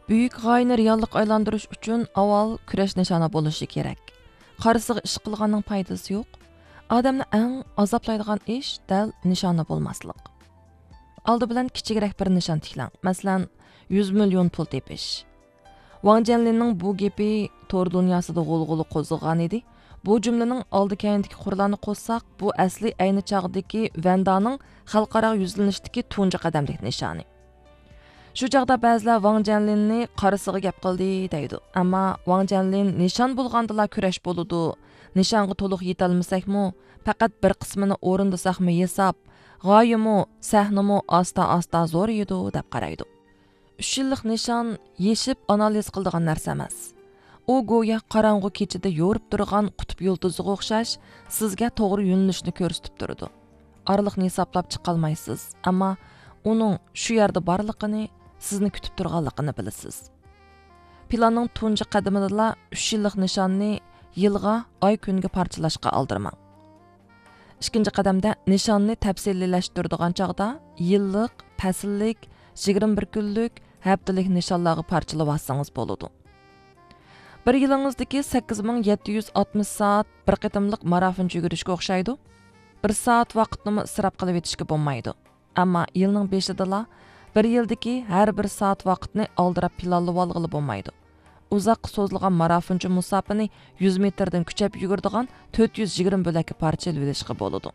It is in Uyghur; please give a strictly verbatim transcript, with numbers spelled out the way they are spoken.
بۈيۈك غايىنى رېئاللىققا ئايلاندۇرۇش ئۈچۈن ئاۋۋال كۈرەش نىشانى بولۇشى كېرەك. قارىسىغا ئىش قىلغاننىڭ پايدىسى يوق. ئادەمنى ئەڭ ئازابلايدىغان ئىش دەل نىشانى بولماسلىق. ئالدى بىلەن كىچىكرەك بىر نىشان تىكلەڭ. مەسىلەن، يۈز مىليون پۇل تېپىش. ۋاڭ جيەنلىننىڭ بۇ گېپى تور دۇنياسىدا غۇلغۇلا قوزغىغان ئىدى. بۇ جۈملىنىڭ ئالدى كەينىدىكى قۇرلارنى قوشساق، بۇ ئەسلى ئەينى چاغدىكى ۋەندانىڭ خەلقئاراغا يۈزلىنىشتىكى تۇنجى قەدەملىك نىشانى. شۇ چاغدا بەزىلەر ۋاڭ جيەنلىننى قارىسىغا گەپ قىلدى دەيدۇ. ئەمما ۋاڭ جيەنلىن نىشان بولغاندىلا كۈرەش بولىدۇ، نىشانغا تولۇق يېتەلمىسەكمۇ، پەقەت بىر قىسمىنى ئورۇندىساقمۇ ھېساب، غايىمۇ، سەھنىمۇ ئاستا-ئاستا زورىيىدۇ دەپ قارايدۇ. ئۈچ يىللىق نىشان يېشىپ ئانالىز قىلىدىغان نەرسە ئەمەس. ئۇ گويا قاراڭغۇ كېچىدە يورۇپ تۇرغان قۇتۇپ يۇلتۇزىغا ئوخشاش، سىزگە توغرا يۆنىلىشنى كۆرسىتىپ تۇرىدۇ. ئارىلىقنى ھېسابلاپ چىقالمايسىز، ئەمما ئۇنىڭ شۇ يەردە بارلىقىنى، سىزنى كۈتۈپ تۇرغانلىقىنى بىلىسىز. پىلاننىڭ تۇنجى قەدىمىدىلا ئۈچ يىللىق نىشاننى يىلغا، ئاي كۈنگە پارچىلاشقا ئالدىرىماڭ. ئىككىنچى قەدەمدە نىشاننى تەپسىلىيلەشتۈرىدىغان چاغدا يىللىق، پەسىللىك، يىگىرمە بىر كۈنلۈك، ھەپتىلىك نىشانلارغا پارچىلىۋالسىڭىز بولىدۇ. بىر يىلىڭىزدىكى سەككىز مىڭ يەتتە يۈز ئاتمىش سائەت بىر قېتىملىق مارافون يۈگۈرۈشكە ئوخشايدۇ. بىر سائەت ۋاقىتنىمۇ ئىسراپ قىلىۋېتىشكە بولمايدۇ. ئەمما يىلنىڭ بېشىدىلا بىر يىلدىكى ھەر بىر سائەت ۋاقىتنى ئالدىراپ پىلانلىۋالغىلى بولمايدۇ. ئۇزاققا سوزۇلغان مارافونچە مۇساپىنى يۈز مېتىردىن كۈچەپ يۈگۈرىدىغان تۆت يۈز يىگىرمە بۆلەككە پارچىلىۋېلىشقا بولىدۇ.